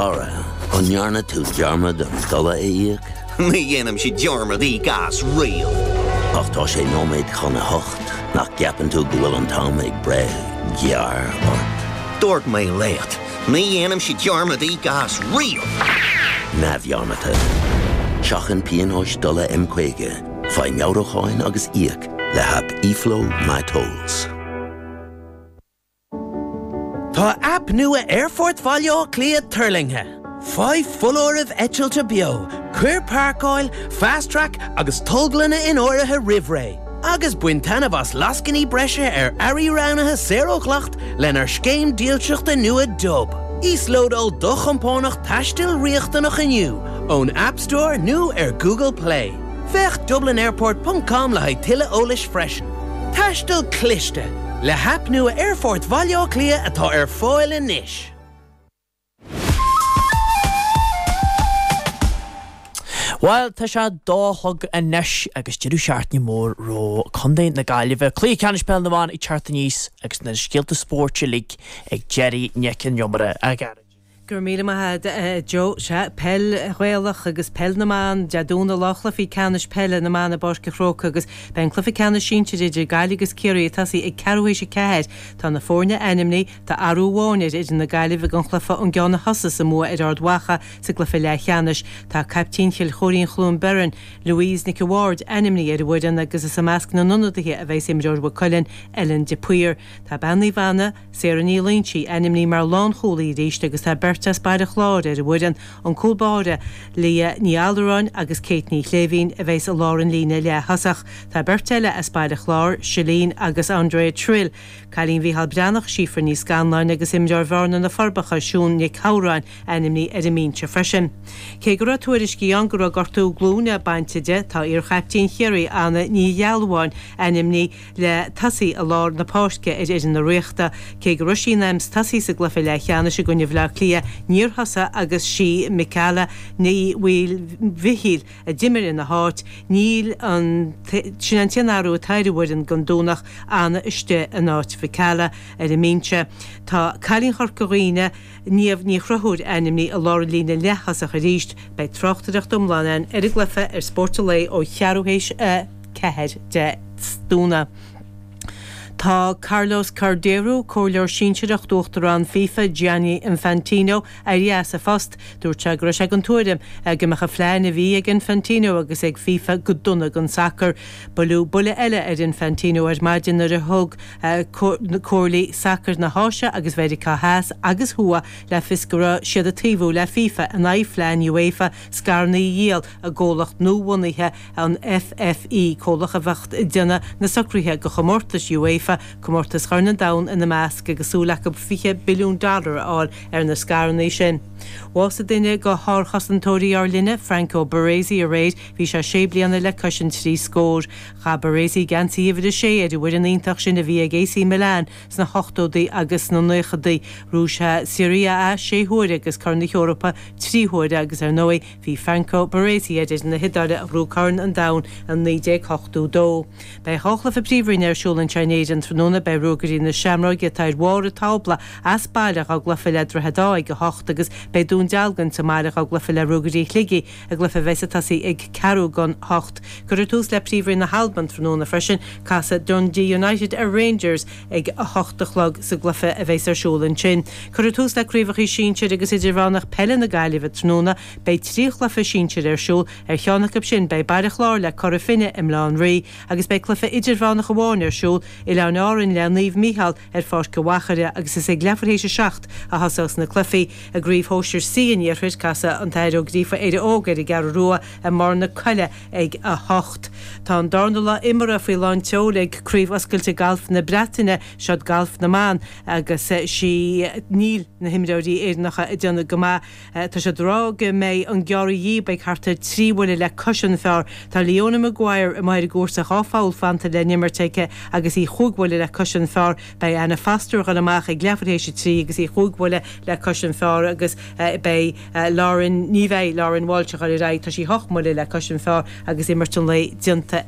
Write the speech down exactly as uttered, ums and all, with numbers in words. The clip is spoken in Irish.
Cara, an ndearna tú dearmad an dola a íoc? Ní dhéanaimse dearmad íoc as riamh. Ach tá sé nóiméad chun a hocht nach gceapann tú go bhfuil an t-am ag breith gearr ort. Dúirt mé leat, ní dhéanaimse dearmad íoc as riamh. Neamhdhearmadta. Seachain pionóis dola M caoga, faigh meabhrúcháin agus íoc le haip eFlow MyTolls. Tá aip nua Aerfort Bhaile Átha Cliath tuirlingthe. Faigh foláirimh eitilte beo, cuir páirceáil, fast track agus tolglanna in áirithe roimh ré. Agus bain taitneamh as lascainí breise ar earraí roghnaithe saor ó dhleacht lenár scéim dílseachta nua Dub. Íoslódáil do chompánach taistil riachtanach inniu ón App Store nó ar Google Play. Féach DublinAirport.com le haghaidh tuilleadh eolais freisin. Taisteal cliste le haip nua Aerfort Bhaile Átha Cliath atá ar fáil anois. Bhuel tá sé dó a chlog anois agus deireadh seachtaine mór roimh Contae na Gaillimhe. Cluiche Ceannais Peil na mBan ag teacht aníos agus na scéalta spóirt uilig ag Gerry Nic an Iomaire. A Ghearóid. Go raibh míle maith agat Joe. Sea, peil Ghaelach agus peil na mban, Dé Domhnaigh lá chluichí ceannais peile na mban i bPáirc an Chrócaigh agus beidh an cluiche ceannais sinsir idir Gaillimh agus Ciarraí ag tosaí ag ceathrú théis a ceathair. Tá na foirne ainmnithe, tá athrú amháin ar fhoireann na Gaillimhe don chluiche ón gceann a thosaigh sa mbua ar Ard Mhacha sa gcluiche leathcheannais. Tá caiptín Chill Choirín Chluain Bheirn, Louise Nic a' Bhaird, ainmnithe ar an bhfoireann agus is i measc na n-ionadaithe a bheas imreoir Mhaigh Cuilinn, Ellen de Paor. Tá bean Naomh Anna, Sarah Ní Loingsigh, ainmnithe mar lánchúlaí arís agus tá beirt as Baile Chláir ar an bhfoireann, an cúl báire Leah Ní Allaráin agus Kate Ní Shléibhín a bheas i lár an líne leath-thosach. Tá beirt eile as Baile Chláir, Shalene agus Andrea Trill, Cailín Mhícheál Breathnach, Síofra Ní Scanláin agus imreoir Bhearna na Forbacha, Siún Nic Shamhráin, ainmnithe ar an mbinse freisin. Cé go raibh tuairiscí ann go raibh gortú glúine bainte di, tá iar-chaiptín Chiarraí Anna Ní Ghealbháin ainmnithe le tosaí i lár na páirce ar fhoireann na Ríochta. Cé go raibh sí in ainm is tosaí sa gcluiche leathcheannais i gcoinne Bhaile Átha Cliath, níor thosaigh agus sí Michaela Ní Mhaoilmhichíl a d'imir ina háit. Níl an sin an t-aon athrú atá ar an bhfoireann don Domhnach, Anna istigh in áit Mhichaela ar an mbinse. Tá cailín Chorca Dhuibhne, Niamh Ní Chonchúir ainmnithe i lár an líne leath-thosach arís. Beidh tráchtaireacht iomlán ann ar an gcluiche ar Spórt an Lae ó cheathrú théis a ceathair Dé Domhnaigh. Tá Carlos Cordeiro, comhairleoir sinsearach d'Uachtarán FIFA Gianni Infantino, éirithe as a phost. Dúirt sé go raibh sé den tuairim go mbeadh an phlean a bhí ag Infantino agus ag FIFA go dona don sacar. Buaileadh buille eile ar Infantino ar maidin nuair a thug comhairlí sacair na hÁise agus Mheiriceá Theas agus Thuaidh le fios go raibh siad ag taobhú le FIFA in aghaidh phlean UEFA scaireanna a dhíol i gcomhlacht nuabhunaithe an FFE, comhlacht a bheadh ag déanamh na socruithe do chomórtais UEFA, comórtas Chorn an Domhain ina measc, agus súil acu fiche billiún dollar a fháil ar na scaireanna sin. Bhásaigh duine de shárchosantóirí ár linne, Franco Baresi, aréir. Bhí sé sé bliana le cois an trí scór. Chaith Baresi geansaí uimhir a sé ar an bhfoireann iontach sin a bhí ag AC Milan sna hochtóidí agus sna naochadaí. Ghnóthaigh sé Serie A sé huaire agus Corn na hEorpa trí huaire agus ar ndóigh bhí Franco Baresi ar fhoireann na hIodáile a ghnóthaigh Corn an Domhain i naoi déag ochtó dó. Beidh dhá chluiche Príomhroinne ar siúl anseo in Éirinn tráthnóna. Beidh Ruagairí na Seamróige atá ar bharr an tábla as baile dhá gcluiche le Droichead Átha ag a hocht agus beidh Dún Dealgan sa mbaile dhá gcluiche le Ruagairí Shligigh i gcluiche a bheas ag tosaí ag ceathrú don hocht. Cuirfear tús le Príomhroinn na hAlban tráthnóna freisin. Casfaidh Dundee United ar Rangers ag a hocht a chlog sa gcluiche a bheas ar siúl ansin. Cuirfear tús le craobhacha sinsir agus idirmheánach peile na Gaillimhe tráthnóna. Beidh trí chluiche sinsir ar siúl. Ar cheann acu sin beidh Baile Chláir le Cora Finne i mBaile Átha an Rí agus beidh cluiche idirmheánach amháin ar siúl, Oileáin Árann le Naomh Mícheál ar Pháirc an Mhachaire agus is ag leathuair théis a seacht a thosós na cluichí. I gCraobh Shóisir C an Iarthair, casfaidh an tAthair Ó Gríofa Éire Óg ar an gCeathrú Rua i mBarr na Coille ag a hocht. Tá an darna lá imeartha faoi lán tseoil ag Craobh Oscailte Gailf na Breataine, seod galf na mban, agus sí níl na himreoirí Éireannacha ag déanamh go maith. Tá siad ag rá go mbeidh an gearradh dhíob ag thart ar trí bhuille le cois an phar. Tá Leona Maguire amuigh ar an gcúrsa dhá pholl fanta le n-imirt aici agus í chúig bhuille le cois an phar. Beidh Anna Foster ag dul amach ag leathuair théis a trí agus í chúig bhuille le cois an phar agus beidh Lauren, ní bheidh Lauren Walsh ag dul ar aghaidh, tá sí hocht mbuille le cois an phar agus imirt an lae déanta